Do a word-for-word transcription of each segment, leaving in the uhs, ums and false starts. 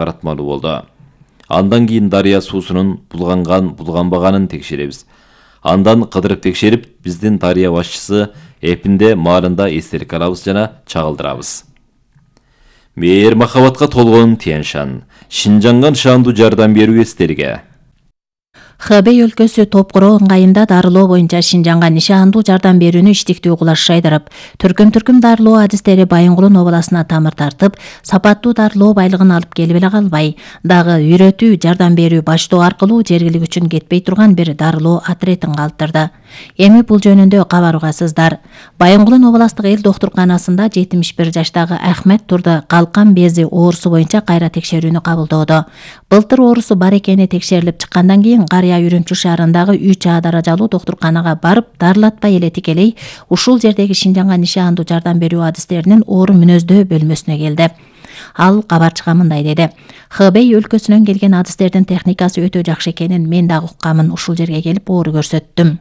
таратмалуу болду. Андан кийин дарыя суусунун булганган, булганбаганын текшеребиз. Андан кыдырып текшерип, биздин дарыя башчысы эпинде маарында эстелик алабыз жана чагылдырабыз. Мээр махабатка толгон Тянь-Шань, Шинжаңга шандуу жардам берүү эстелиги. Хэбэй өлкөсү Топкуроо ыңгайында дарылоо боюнча Шинжаңга нишандуу жардам берүүнү иштиктүү кылаш шайдырып, түркүм-түркүм дарылоо адистери Байынгулун областына тамыр тартып, сапаттуу дарылоо байлыгын алып келип эле калбай, дагы үйрөтүү, жардам берүү баштоо аркылуу жергилик үчүн кетпей турган бир дарылоо отрядын калтырды. Эми бул жөнүндө кабар угасыздар. Байынгулун областтык эл доктурканасында жетимиш бир жаштагы Ахмет Турды калкан бези оорусу боюнча кайра текшерүүнү кабылдоодо. Былтыр оорусу бар экени текшерилип чыккандан кийин Карыя Үрүмчү шаарындагы үч А даражалуу доктурканага барып, дарылатпай эле тикелей ушул жердеги Шинжаңга нишандуу жардам берүү адистеринин оору мүнөздөө бөлмөсүнө келди. Ал кабарчыга мындай деди: Хэбэй өлкөсүнөн келген адистердин техникасы өтө жакшы экенин мен дагы уккамын, ушул жерге келип оору көрсөттүм.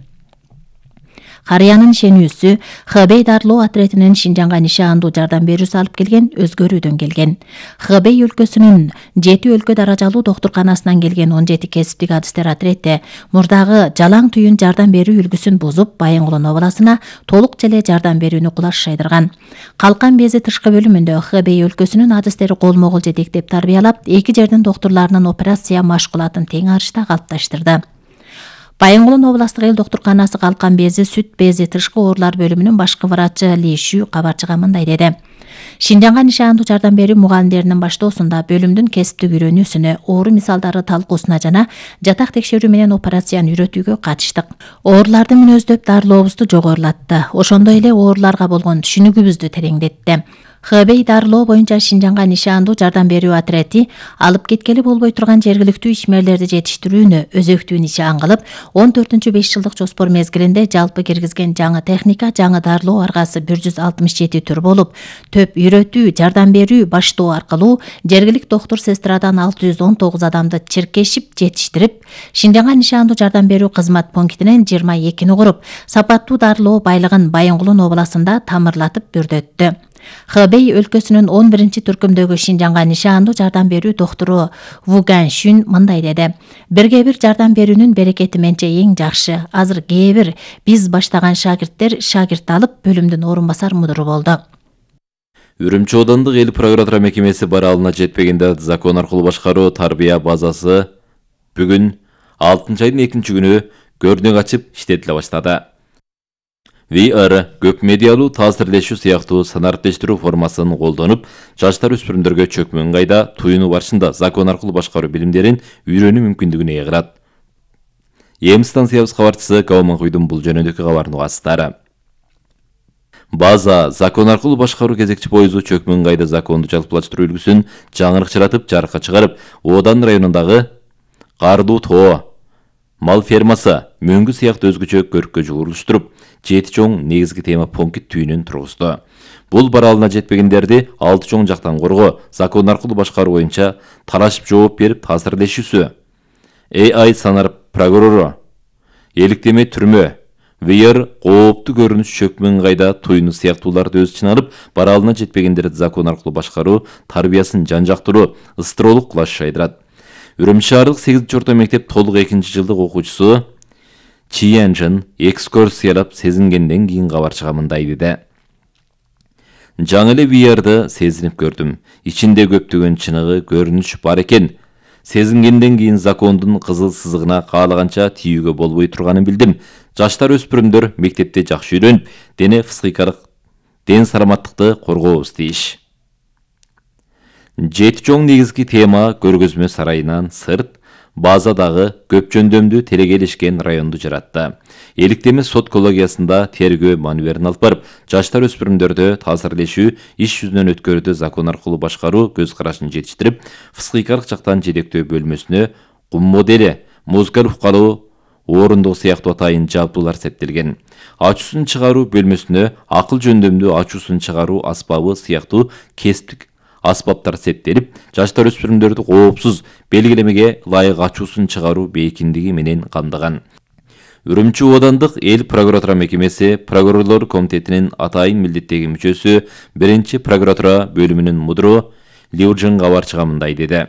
Карыянын ишенүүсү Хэбэй дарылоо отрядынын Шинжаңга нишандуу жардам берүүсү алып келген өзгөрүүдөн келген. Хэбэй өлкөсүнүн жети өлкө даражалуу доктурканасынан келген он жети кесиптик адистер отряды мурдагы жалаң түйүн жардам берүү үлгүсүн бузуп, Байынгулун областына толук желе жардам берүүнү кулаш шайдырган. Калкан бези тышкы бөлүмүндө Хэбэй өлкөсүнүн адистери колмо-кол жетектеп тарбиялап, эки жердин доктурларынын операция машкулатын тең арышта калыпташтырды. Байынгулун областтык эл доктурканасы калкан бези, сүт бези, тышкы оорулар бөлүмүнүн башкы врачы Ли Шу кабарчыга мындай деди: Шинжаңга нишандуу жардам берүү мугалимдеринин баштоосунда бөлүмдүн кесиптик үйрөнүүсүнө, оору мисалдары талкуусуна жана жатак текшерүү менен операцияны үйрөтүүгө катыштык. Ооруларды мүнөздөп дарылообузду жогорулатты. Ошондой эле ооруларга болгон түшүнүгүбүздү тереңдетти. Хэбэй дарылоо боюнча Шинжаңга нишандуу жардам берүү отряды алып кеткели болбой турган жергиликтүү ишмерлерди жетиштирүүнү өзөктүү нишан кылып, он төртүнчү беш жылдык жоспор мезгилинде жалпы киргизген жаңы техника, жаңы дарылоо аргасы бир жүз алтымыш жети түр болуп, төп үйрөтүү, жардам берүү баштоо аркылуу жергилик доктур сестрадан алты жүз он тогуз адамды чиркешип жетиштирип, Шинжаңга нишандуу жардам берүү кызмат пунктинен жыйырма экини куруп, сапаттуу дарылоо байлыгын Байынгулун областында тамырлатып бүрдөттү. Хэбэй өлкөсүнүн он биринчи түркүмдөгү Шинжаңга нишандуу жардам берүү доктуру Ву Ганшүн мындай деди: Бирге бир жардам берүүнүн берекети менче эң жакшы. Азыр кээ бир биз баштаган шагирттер шагирт алып, бөлүмдүн орун басар мудуру болду. Үрүмчү аудандык эл прокуратура мекемеси баралына жетпегенде закон аркылуу башкаруу тарбия базасы бүгүн алтынчы айдын экинчи күнү көрүнөк ачып иштетиле баштады. ви ар көп медиалуу таасирлешүү сыяктуу санариптештирүү формасын колдонуп, жаштар өспүрүмдөргө чөкмө ыңгайда туюну барышында закон аркылуу башкаруу билимдерин үйрөнүү мүмкүндүгүн ээ кылат. Эм станциябыз кабарчысы Кабаманкуйдун бул жөнүндөгү кабарын угасыздар. База закон аркылуу башкаруу кезекчи пойызу чөкмө ыңгайда законду жалпылаштыруу үлгүсүн жаңырыкчыратып жарыкка чыгарып, Одан районундагы Кардуу тоо, мал фермасы, мөңгү сыяктуу өзгөчө көрккө жугуруштуруп, жети чоң негизги тема пункт түйүнүн тургузду. Бул баралына жетпегендерди алты чоң жактан коргоо, закон аркылуу башкаруу боюнча талашып жооп берип таасирлешүүсү, эй ай санар прокурору, эликтеме түрмө, ви ар кооптуу көрүнүш чөкмө ыңгайда туюну сыяктууларды өз ичине алып, баралына жетпегендерди закон аркылуу башкаруу тарбиясын жан жактыруу, ыстыроолук кылаш шайдырат. Үрүмчү шаардык сегизинчи орто мектеп толук экинчи жылдык окуучусу Чиянжын экскурсиялап сезингенден кийин кабарчыга мындай деди: Жаңы эле ви арды сезинип көрдүм. Ичинде көптөгөн чыныгы көрүнүш бар экен. Сезингенден кийин закондун кызыл сызыгына каалаганча тийүүгө болбой турганын билдим. Жаштар өспүрүмдөр мектепте жакшы үйрөнүп, дене физикалык ден саламаттыкты коргообуз тийиш. Жети чоң негизги тема көргөзмө сарайынан сырт базадагы көп жөндөмдүү телегелешкен районду жаратты. Эликтеме сот коллегиясында тергөө маневрин алып барып, жаштар өспүрүмдөрдө таасирлешүү иш жүзүнөн өткөрүүдө закон аркылуу башкаруу көз карашын жетиштирип, психикалык жактан жетектөө бөлмөсүнө кум модели, музыкалык укалуу орунду сыяктуу атайын жабдуулар септелген. Ачуусун чыгаруу бөлмөсүнө акыл жөндөмдүү ачуусун чыгаруу аспабы сыяктуу кесиптик аспаптар септелип, жаштар өспүрүмдөрдү коопсуз белгилемеге ылайык ачуусун чыгаруу бейкиндиги менен камдаган. Үрүмчү аудандык эл прокуратура мекемеси прокурорлор комитетинин атайын милдеттеги мүчөсү биринчи прокуратура бөлүмүнүн мудуру Лиужин кабарчыга мындай деди: